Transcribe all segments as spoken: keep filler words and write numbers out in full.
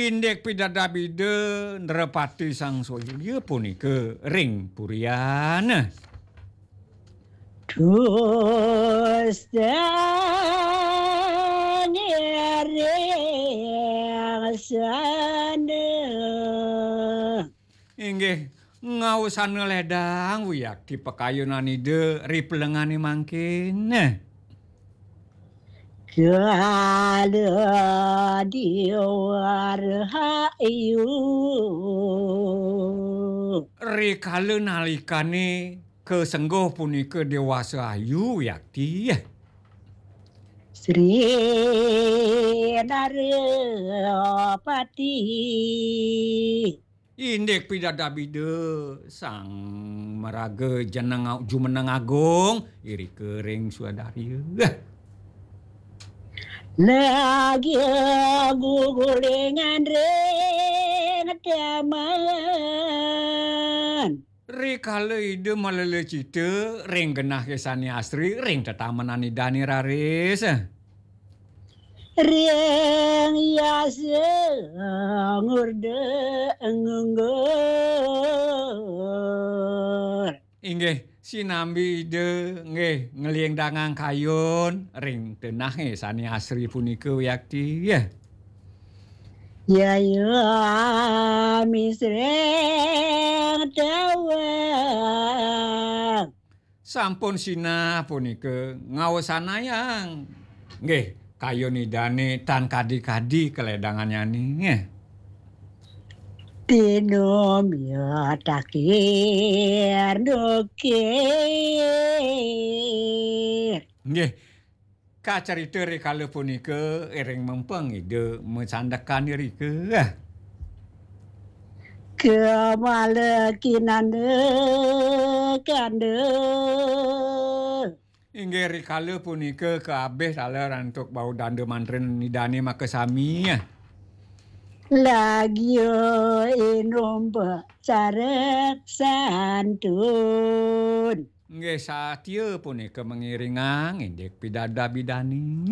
Indik pidabdab Ida Nrapati Sang Surya punika ring purian. Dusta ngiring sana. Inggih, ngaosana ledang wiakti pakayunan Ida ri pelengane mangkin. Kala diwarahayu. Rikala nalikane kasengguh punika dewasa ayu, wiakti. Sri Narapati. Indik pidabdab Ida Sang Maraga Jeneng Jumeneng Agung, irika ring Swadarya. Lagi gugulingan ring taman. Rikala Ida malelecita ring genah sane asri ring tetamenan Idane raris. Ring yasa ngurda ngunggur. Inggih, sinambi Ida nggih nglingdangang kayun ring tenahe sane asri punika wiakti. Yaya misreng tawang. Sampun sinah punika ngaosanayang. Nggih, kayun Idane tan kadi-kadi kaledangannyane. Tinum ya takir nukir. Nggih, kacarita rikala punika ring mempeng Ida masandekan irika. Kamala kinanda kanda. Inggih rikala punika kaabih taler antuk bau danda mantrin Idane makasami. Lagya inumpa sarek santun. Nggih, satia punika mangiringang indik pidabdab Idane.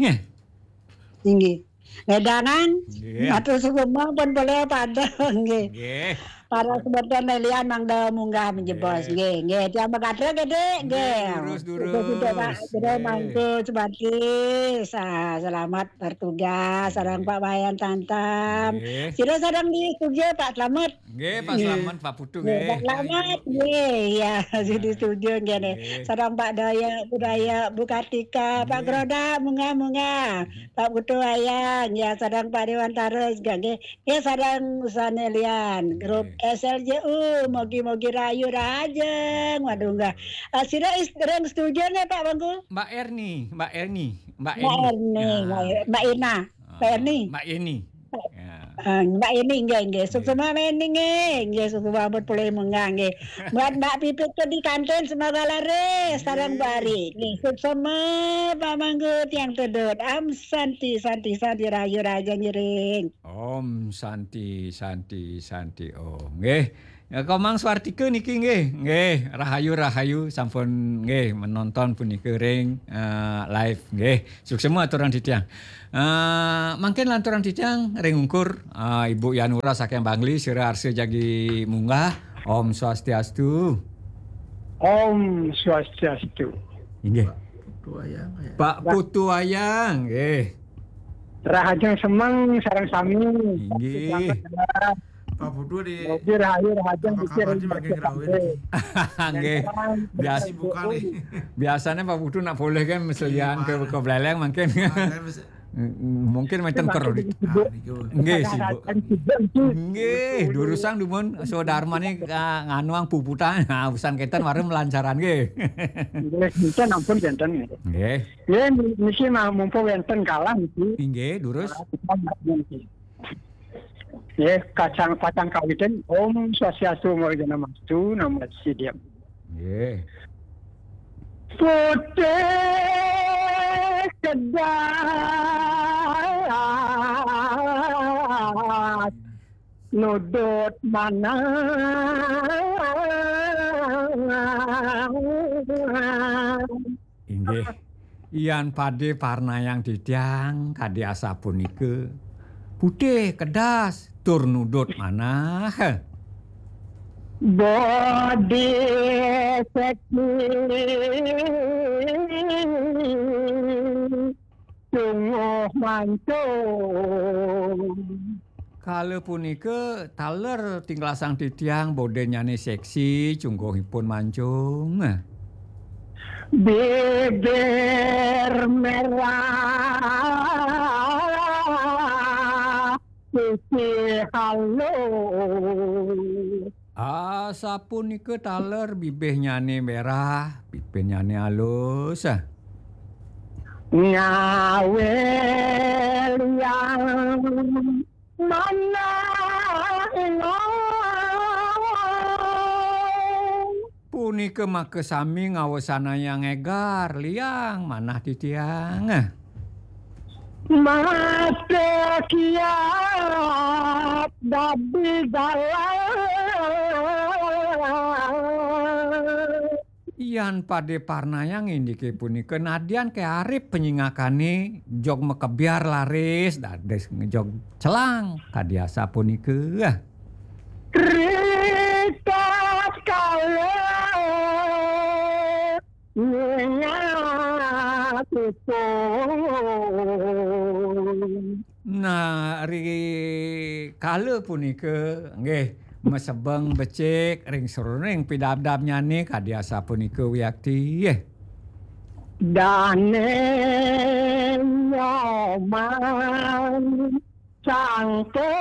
Inggih. Ngedangan, nggih. Matur suksma pun boleh pada, nggih. Nggih. Para semeton lian mangda munggah menjebos, nggih. Nggih, nggih. Tiang magatra gede, nggih, nggih. Durus, durus. Sudah, sudah, Pak. Sudah nggih. Mangku sebati. Sa-, selamat bertugas, sareng Pak Wayan Tantam. Nggih. Sira sareng di studio, Pak Slamet. Nggih, Pak Slamet, Pak Putu, nggih, nggih. Pak Slamet, nggih, ya, di studio, nggih, nih. Nggih. Sareng Pak Daya, Bu Daya, Bu Kartika, Pak Groda, munggah, munggah. Pak Putu Ayang, ya, sareng Pak Dewantara juga, nggih. Nggih, sareng sane lian, grup S L J U, mogi-mogi rahayu rahajeng. Waduh, nggih. Ah, sira is-, ring studio nggih, Pak Bangku? Mbak Erni, Mbak Erni, Mbak Mbak Erni. Erni, Mbak Er-, Mbak Ina. Ah, Mbak Erni. Mbak Eni. Ya. Ah, Mbak Eni, nggih, nggih. Suksma Mbak Eni, nggih. Nggih, suksma ampun polih munggah, nggih. Buat Mbak Pipit ke di kantin, semoga laris, sareng Mbak Ari. Nggih, suksma, Pak Mangku, tiang tedut. Am Santi, Santi, Santi, rahayu rahajeng ngiring. Om Santi, Santi, Santi, Om. Nggih. Ya, Komang Swartika niki nggih. Nggih, rahayu, rahayu, sampun nggih menonton punika ring, eh, live nggih. Suksma aturang titiang. Eh, mangkin lanturang titiang ring ungkur, eh, Ibu Yanura saking Bangli, sira arsa jagi munggah. Om Swastiastu. Om Swastiastu. Inggih. Putu Ayang, ya. Pak Putu Ayang, nggih. Rahajeng semeng sareng sami. Inggih. Pak Putu di Mogi rahayu rahajeng apa pikir kabar di makin rawe niki? Nggih. Biasa sibuk kali. Biasane Pak Putu nak polih kan meselian ke, ke Buleleng mangkin. Ah, saya mes- Mungkin wenten kredit. Ah, niku. Nggih, sibuk. Nggih, durusang dumun sadarmane, ah, nganuang puputan. Ah, usan kenten warung melancaran nggih. Nggih, niki ampun janten nggih. Nggih. Nggih, niki mah mumpung wenten kalah niki. Inggih, durus. Nggih, kacang pacang kawitin Om Swastiastu, Om Awighnamastu, Namo Siddham. Nggih. Putih kedas nudut manah. Inggih. Yan pade parnayang titiang kadi asapunika. Putih, kedas, tur nudut manah. Bodi seksi sungguh mancung. Kala punika taler tinglasang titiang, bodennyane seksi, cungguhipun mancung. Bibir merah, sisi halus. Asapunika taler bibihnyane merah, bibihnyane alus. Ngawe liang manah. Punika makasami ngawesanayang egar liang manah titiang. Mata kiat dadi galang. Yan pade parnayang indike punika, nadyan ke arip panyingakane, jog makebyar laris, dados jog celang, kadi asapunika. Ritat kala nyengat ipun. Nah, ri kala punika, nggih, masebeng becik ring sajeroning pidabdabnyane kadi asapunika wiakti, nggih. Dane Nyoman sang penyiar.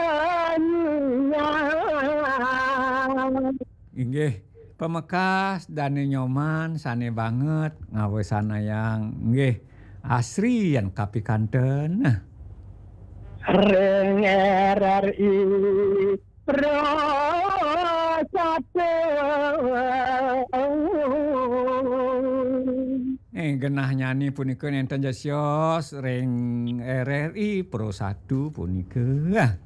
Inggih, pamekas Dane Nyoman sane banget ngawesanayang, nggih, asri yan kapikanten. Ring R R I Pro satu. Eh, genahnyane punika nenten jesios ring R R I Pro satu punika.